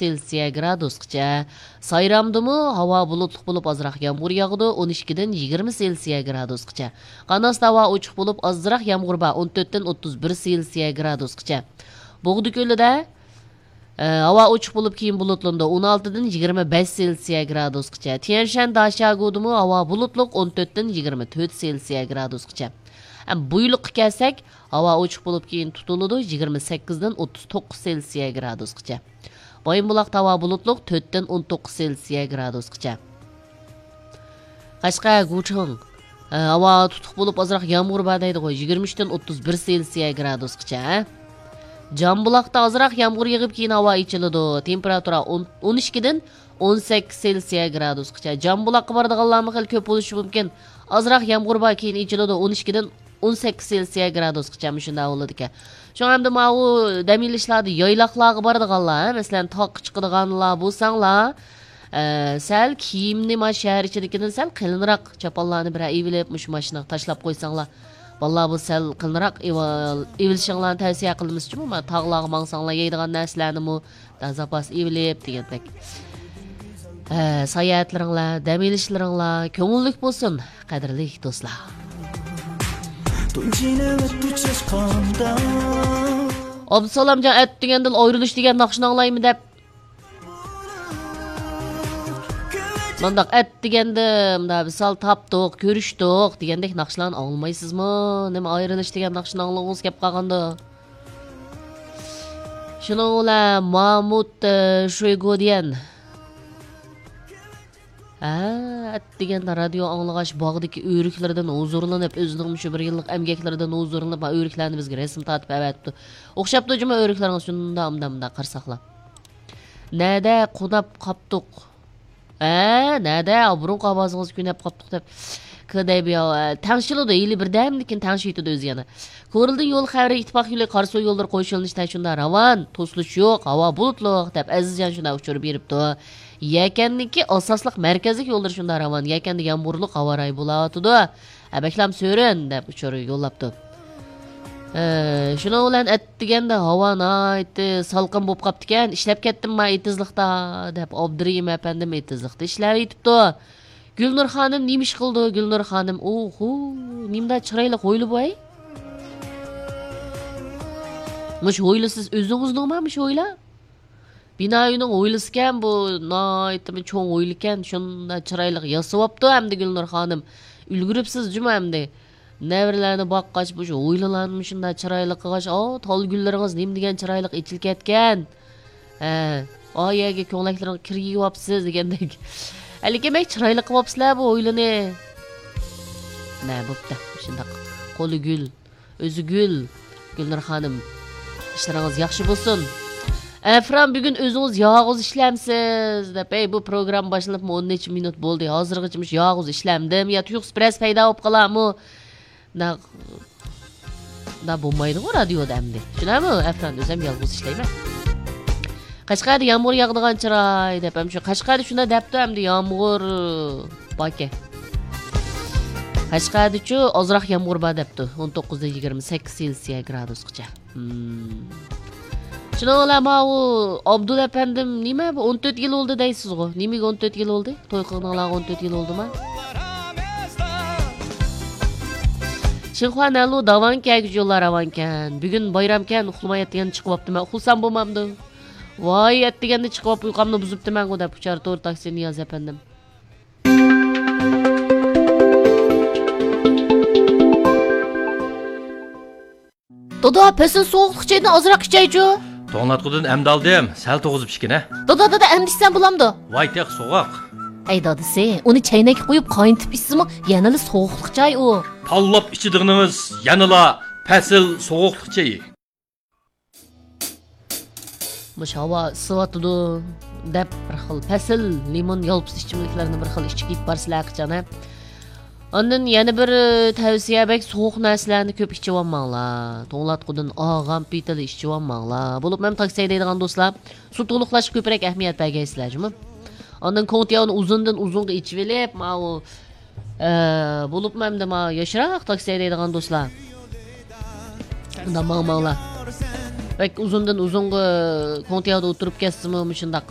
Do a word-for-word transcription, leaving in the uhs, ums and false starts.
سېلسىيە گرادۇسقىچە. سايرامدىمۇ ھاۋا بۇلۇتلۇق بولۇپ، ئازراق يامغۇر ياغىدۇ، ئون ئىككىدىن يىگىرمە سېلسىيە گرادۇسقىچە. قاناستا ھاۋا ئوچۇق بولۇپ، ئازراق يامغۇر بار، ئون تۆتتىن ئوتتۇز بىر سېلسىيە گرادۇسقىچە. بوغدا كۆلىدە، ئە، ھاۋا ئوچۇق بولۇپ، كېيىن بۇلۇتلىنىدۇ، ئون ئالتىدىن يىگىرمە بەش سېلسىيە گرادۇسقىچە. تيەنشەن داشياگۇدىمۇ ھاۋا بۇلۇتلۇق، ئون تۆتتىن يىگىرمە تۆت سېلسىيە گرادۇسقىچە. ھەم بۇيلۇققا كەلسەك، ھاۋا ئوچۇق بولۇپ، كېيىن تۇتۇلىدۇ، يىگىرمە سەككىزدىن ئوتتۇز توققۇز سېلسىيە گرادۇسقىچە. بايىنبۇلاقتا ھاۋا بۇلۇتلۇق، تۆتتىن ئون توققۇز سېلسىيە گرادۇسقىچە. قەشقەر، گۇچىڭ، ئە، ھاۋا تۇتۇق بولۇپ، ئازراق يامغۇر بار دەيدىغۇ، يىگىرمە ئۈچتىن ئوتتۇز بىر سېلسىيە گرادۇسقىچە. جامبۇلاقتا ئازراق يامغۇر يېغىپ، كېيىن ھاۋا ئېچىلىدۇ. تېمپېراتۇرا ئون، ئون ئىككىدىن ئون سەككىز سېلسىيە گرادۇسقىچە. جامبۇلاققا بارىدىغانلارمۇ خېلى كۆپ بولۇشى مۇمكىن. ئازراق يامغۇر بار، كېيىن ئېچىلىدۇ، ئون ئىككىدىن ئون سەككىز سېلسىيە گرادۇسقىچە مۇشۇنداق بولىدىكەن. شۇڭا ئەمدى ماۋۇ دەم ئېلىشلاردا يايلاقلارغا بارىدىغانلار، ھە، مەسىلەن، تاغقا چىقىدىغانلار بولساڭلار، ئە، سەل كىيىمنى ما شەھەر ئىچىدىكىدىن سەل قېلىنراق چاپانلارنى بىرەر ئېۋىلىپ، مۇشۇ ماشىنىغا تاشلاپ قويساڭلار، بالىلار بۇ سەل قېلىنراق ئېۋىل-، ئېۋىلىشىڭلارنى تەۋسىيە قىلىمىز جۇمۇ، ما تاغلارغا ماڭساڭلار يەيدىغان نەرسىلەرنىمۇ، زاپاس ئېۋىلىپ دېگەندەك. ھە، ساياھەتلىرىڭلار، دەم ئېلىشلىرىڭلار كۆڭۈللۈك بولسۇن، قەدىرلىك دوستلار. ئابدۇسالامجان ئەتىگەندىلا ئايرىلىش دېگەن ناخشىنى ئاڭلايمەن دەپ. مانداق ئەتىگەندە مۇنداق ۋىسال تاپتۇق، كۆرۈشتۇق دېگەندەك ناخشىلارنى ئاڭلىمايسىزمۇ؟ نېمە ئايرىلىش دېگەن ناخشىنى ئاڭلىغۇڭىز كەپ قالغاندۇ؟ شۇنىڭ بىلەن مامۇت، ئە، شۇيگوديەن. ھە، ئەتىگەندە رادىيو ئاڭلىغاچ باغدىكى ئۆرۈكلىرىدىن ھۇزۇرلىنىپ، ئۆزىنىڭ مۇشۇ بىر يىللىق ئەمگەكلىرىدىن ھۇزۇرلىنىپ، ھە، ئۆرۈكلەرنى بىزگە رەسىم تارتىپ ئەۋەتىپتۇ. ئوخشاپتۇ جۇمۇ ئۆرۈكلىرىڭىز شۇنداق، مۇنداق، مۇنداق قارىساقلا. نەدە قوناپ قاپتۇق؟ ھە، نەدە؟ بۇرۇنقى ئاۋازىڭىزنى كۆنەپ قاپتۇق دەپ. كىدەيبىياۋ، تەڭشىلىدۇ، ھېلى بىردەمدىن كېيىن تەڭشىيتىدۇ ئۆزى يەنە. كورلىدىن يول خەۋىرى، ئىتتىپاق يولى، قاراسۇ يوللىرى قوشۇلۇنۇشتا شۇنداق راۋان، توسۇلۇش يوق، ھاۋا بۇلۇتلۇق دەپ ئەزىزجان شۇنداق ئۇچۇر بېرىپتۇ. يەكەننىڭكى ئاساسلىق مەركەزلىك يوللىرى شۇنداق راۋان، يەكەندە يامغۇرلۇق ھاۋا رايى بولاۋاتىدۇ. ھە، بەكلام سۆرۈن دەپ ئۇچۇر يوللاپتۇ. ئە، شۇنىڭ بىلەن ئەتىگەندە ھاۋا ناھايىتى سالقىن بولۇپ قاپتىكەن. ئىشلەپ كەتتىم ما ئېتىزلىقتا دەپ ئابدۇرېھىم ئەپەندىم ئېتىزلىقتا ئىشلەۋېتىپتۇ. گۈلنۇر خانىم نېمە ئىش قىلىدۇ؟ گۈلنۇر خانىم، ئوھو، نېمىنداق چىرايلىق ھويلا بۇ ئەي؟ مۇشۇ ھويلا سىز ئۆزىڭىزنىڭما مۇشۇ ھويلا؟ بىنا ئۆينىڭ ھويلىسىكەن بۇ، ناھايىتىمۇ چوڭ ھويلىكەن، شۇنداق چىرايلىق ياسىۋاپتۇ ئەمدى گۈلنۇر خانىم. ئۈلگۈرۈپسىز جۇمۇ ئەمدى. نەۋرىلەرنى باققاچ، مۇشۇ ھويلىلارنى مۇشۇنداق چىرايلىق قىلغاچ، ئاۋۇ تال گۈللىرىڭىز نېمە دېگەن چىرايلىق ئېچىلىپ كەتكەن. ھە، ئا يەرگە كۆڭلەكلىرىڭ كىر يېيىۋاپسىز دېگەندەك. ھەلىكى بەك چىرايلىق قىلىۋاپسىلەر بۇ ھويلىنى. مە، بوپتۇ، مۇشۇنداق. قولى گۈل. ئۆزى گۈل، گۈلنۇر خانىم. ئىشلىرىڭىز ياخشى بولسۇن. ئەفران، بۈگۈن ئۆزىڭىز يالغۇز ئىشلەمسىز دەپ، ئەي، بۇ پروگرامما باشلىنىپمۇ ئون نەچچە مىنۇت بولدى. ھازىرغىچە مۇشۇ يالغۇز ئىشلەمدىم. يا تۇيۇقسىز بىرەرسى پەيدا بولۇپ قالارمۇ؟ نە، نە بولمايدىغۇ رادىيودا ئەمدى. شۇنداقمۇ؟ ئەفران، ئۆزۈم يالغۇز ئىشلەيمەن. قەشقەردە يامغۇر ياغىدىغان چىراي دەپ، ھەم شۇ قەشقەردە شۇنداق دەپتۇ، ئەمدى يامغۇر باركەن. قەشقەردىچۇ ئازراق يامغۇر بار دەپتۇ، ئون توققۇزدىن يىگىرمە سەككىز سېلسىيە گرادۇسقىچە. ھىم. شۇنىڭ بىلەن ماۋۇ ئابدۇل ئەپەندىم، نېمە بۇ، ئون تۆت يىل بولدى دەيسىزغۇ؟ نېمىگە ئون تۆت يىل بولدى؟ توي قىلغىنىڭلارغا ئون تۆت يىل بولدىما؟ شىنخۇا نەلۇ داۋانكەن، يوللار راۋانكەن. بۈگۈن بايرامكەن، ئۇخلىماي ئەتىگەندە چىقىۋاپتىمەن. ئۇخلىسام بولمامدۇ؟ ۋاي، ئەتىگەندە چىقىۋاپ ئۇيقۇمنى بۇزۇپتىمەنغۇ دەپ ئۇچار تور تاكسى نىياز ئەپەندىم. دادا، پەسىل سوغۇقلۇق چايدىن ئازراق ئىچەيچۇ. توڭلاتقۇدىن ئەمدى ئالدىم، سەل توغۇزۇپ ئىچكىنە. دادا، دادا، ئەمدى ئىچسەم بولامدۇ؟ ۋاي تېخى سوغۇق. ھەي دادىسى، ئۇنى چەينەككە قۇيۇپ قاينىتىپ ئىچسىمۇ يەنىلا سوغۇقلۇق چاي ئۇ. تاللاپ ئىچىدىغىنىڭىز يەنىلا پەسىل سوغۇقلۇق چېيى. مۇشۇ ھاۋا ئىسسىۋاتىدۇ دەپ بىر خىل پەسىل، لىمون، يالپۇز ئىچىملىكلەرنى بىر خىل ئىچىپ كېتىپ بارىسىلەر قاچان، ھە؟ ئاندىن يەنە بىر تەۋسىيە، بەك سوغۇق نەرسىلەرنى كۆپ ئىچىۋالماڭلار. توڭلاتقۇدىن ئاغام پىتىلا ئىچىۋالماڭلار. بولۇپمۇ ھەم تاكسى ھەيدەيدىغان دوستلار، سۇ تولۇقلاشقا كۆپرەك ئەھمىيەت بەرگەيسىلەر جۇمۇ. ئاندىن كوڭتياۋنى ئۇزۇندىن ئۇزۇنغا ئېچىۋېلىپ، ماۋۇ، ئە، بولۇپمۇ ئەمدى ماۋۇ ياشراق تاكسى ھەيدەيدىغان دوستلار، ئۇنداق ماڭماڭلار. بەك ئۇزۇندىن ئۇزۇنغا كوڭتياۋدا ئولتۇرۇپ كەتسىمۇ، مۇشۇنداق